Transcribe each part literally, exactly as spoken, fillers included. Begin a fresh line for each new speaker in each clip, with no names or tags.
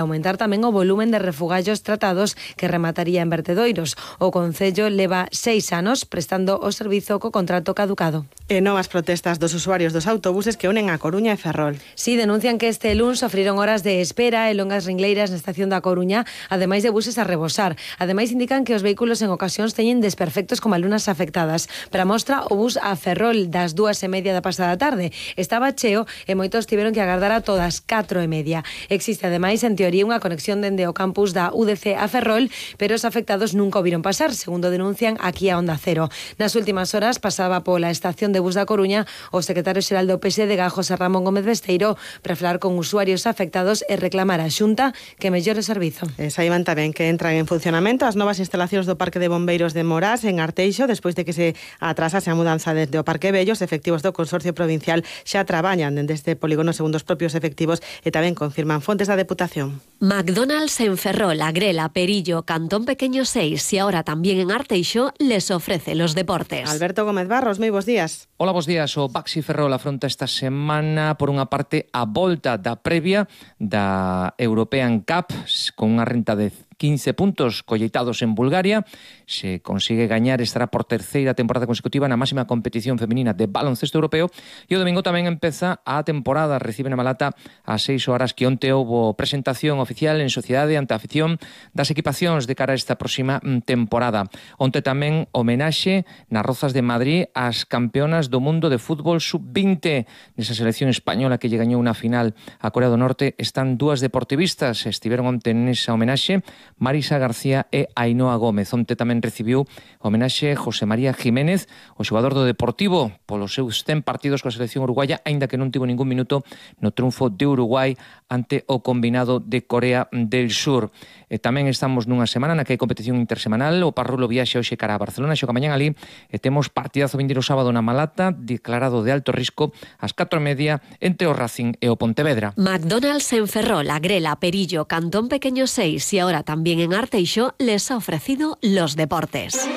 aumentar tamén o volumen de refugallos tratados que remataría en vertedoiros. O Concello leva seis anos prestando o servizo co contrato caducado.
E novas protestas dos usuarios dos autobuses que unen a Coruña e Ferrol.
Sí, denuncian que este luns sofriron horas de espera e longas ringleiras na estación da Coruña, ademais de buses a rebosar. Ademais indican que os vehículos en ocasións teñen desperfectos como alumnas afectadas. Para mostra, o bus a Ferrol das dúas e media da pasada tarde estaba cheo e moitos tiveron que agardar a todas catro e media. Existe ademais en teoría unha conexión dende o campus da U D C a Ferrol, pero os afectados nunca o viron pasar, segundo denuncian aquí a Onda Cero. Nas últimas horas pasaba pola estación de bus da Coruña o secretario xeral do P S D, José Ramón Gómez Besteiro, para falar con usuarios afectados e reclamar a Xunta que mellore o servizo.
E saiban tamén que entran en funcionamento as novas instalacións do Parque de Bombeiros de Morás en Arteixo, despois de que se atrasase a mudanza desde o Parque Vello. Os efectivos do Consorcio Provincial xa traballan dende este polígono segundo os propios efectivos e tamén confirman fontes da Deputación.
McDonald's en Ferrol, Agrela, Perillo, Cantón Pequeño seis y ahora también en Arteixo les ofrece los deportes.
Alberto Gómez Barros, moi bons días.
Hola, bons días. O Baxi Ferrol afronta esta semana, por unha parte, a volta da previa da European Cup con unha renta de quince puntos colleitados en Bulgaria. Se consigue gañar, estará por terceira temporada consecutiva na máxima competición feminina de baloncesto europeo. E o domingo tamén empeza a temporada. Recibe na Malata ás seis horas que onte houbo presentación oficial en sociedade ante a afición das equipacións de cara a esta próxima temporada. Onte tamén homenaxe nas Rozas de Madrid ás campeonas do mundo de fútbol sub veinte. Nesa selección española que lle gañou unha final a Corea do Norte están dúas deportivistas. Estiveron onte nesa homenaxe Marisa García e Ainhoa Gómez. Onte tamén recibiu homenaxe José María Jiménez, o xogador do Deportivo, polos seus cen partidos coa selección uruguaya, aínda que non tivo ningún minuto no triunfo de Uruguai ante o combinado de Corea del Sur. E tamén estamos nunha semana na que hai competición intersemanal. O Parrulo viaxe hoxe cara a Barcelona, xoga mañán ali, e temos partidazo vindeiro sábado na Malata, declarado de alto risco ás catro e media entre o Racing e o Pontevedra.
McDonald's en Ferrol, Agrela, Perillo, Cantón Pequeño seis y ahora también en Arteixo les ha ofrecido los deportes.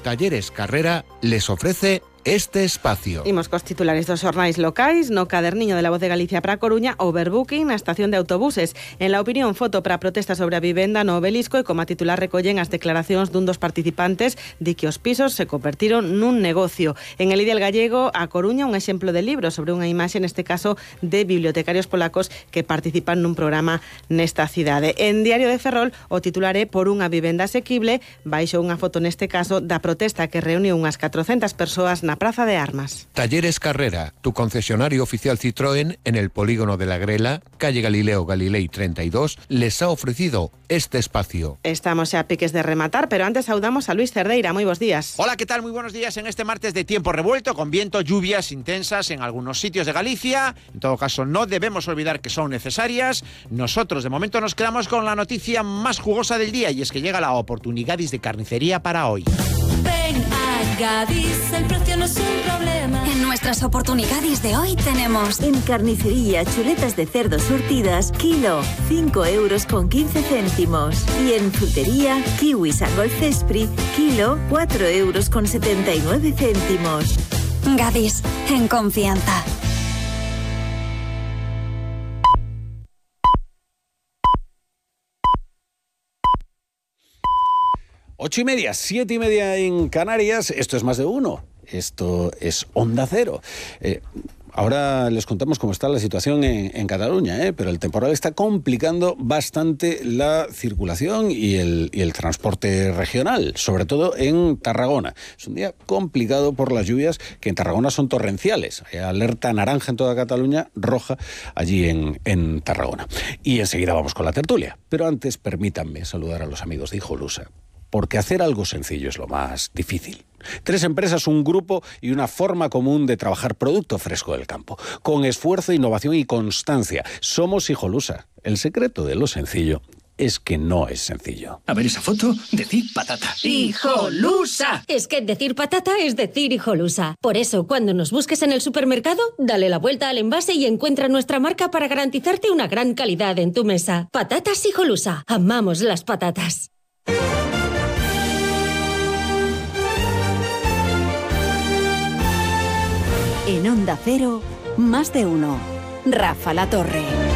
Talleres Carrera les ofrece este espacio.
Imos cos titulares dos xornais locais. No caderniño de La Voz de Galicia para a Coruña, overbooking na estación de autobuses. En La Opinión, foto para a protesta sobre a vivenda no Obelisco e como a titular recollen as declaracións dun dos participantes de que os pisos se convertiron nun negocio. En El Ideal Gallego, a Coruña, un exemplo de libro sobre unha imaxe, neste caso, de bibliotecarios polacos que participan nun programa nesta cidade. En Diario de Ferrol, o titular é Por unha vivenda asequible, baixo unha foto neste caso da protesta que reuniu unhas catrocentas persoas na Plaza de Armas.
Talleres Carrera, tu concesionario oficial Citroën en el polígono de la Grela, calle Galileo Galilei treinta y dos, les ha ofrecido este espacio.
Estamos xa a piques de rematar, pero antes saudamos a Luis Cerdeira. Moi bons días.
Hola, ¿qué tal? Muy buenos días en este martes de tiempo revuelto, con viento, lluvias intensas en algunos sitios de Galicia. En todo caso, no debemos olvidar que son necesarias. Nosotros, de momento, nos quedamos con la noticia más jugosa del día, y es que llega la oportunidad de carnicería para hoy.
Ven a Gadis, el precio no es un problema.
En nuestras oportunidades de hoy tenemos en carnicería chuletas de cerdo surtidas, kilo, cinco euros con quince céntimos. Y en frutería, kiwis a Golcespri, kilo, cuatro euros con setenta y nueve céntimos.
Gadis, en confianza.
Ocho y media, siete y media en Canarias. Esto es más de uno. Esto es Onda Cero. Eh, ahora les contamos cómo está la situación en, en Cataluña, ¿eh? Pero el temporal está complicando bastante la circulación y el, y el transporte regional, sobre todo en Tarragona. Es un día complicado por las lluvias, que en Tarragona son torrenciales. Hay alerta naranja en toda Cataluña, roja allí en, en Tarragona. Y enseguida vamos con la tertulia. Pero antes permítanme saludar a los amigos de Hijolusa, porque hacer algo sencillo es lo más difícil. Tres empresas, un grupo y una forma común de trabajar producto fresco del campo. Con esfuerzo, innovación y constancia. Somos Hijolusa. El secreto de lo sencillo es que no es sencillo.
A ver esa foto, decir patata.
¡Hijolusa! Es que decir patata es decir Hijolusa. Por eso, cuando nos busques en el supermercado, dale la vuelta al envase y encuentra nuestra marca para garantizarte una gran calidad en tu mesa. Patatas Hijolusa. Amamos las patatas.
En Onda Cero, más de uno. Rafa La Torre.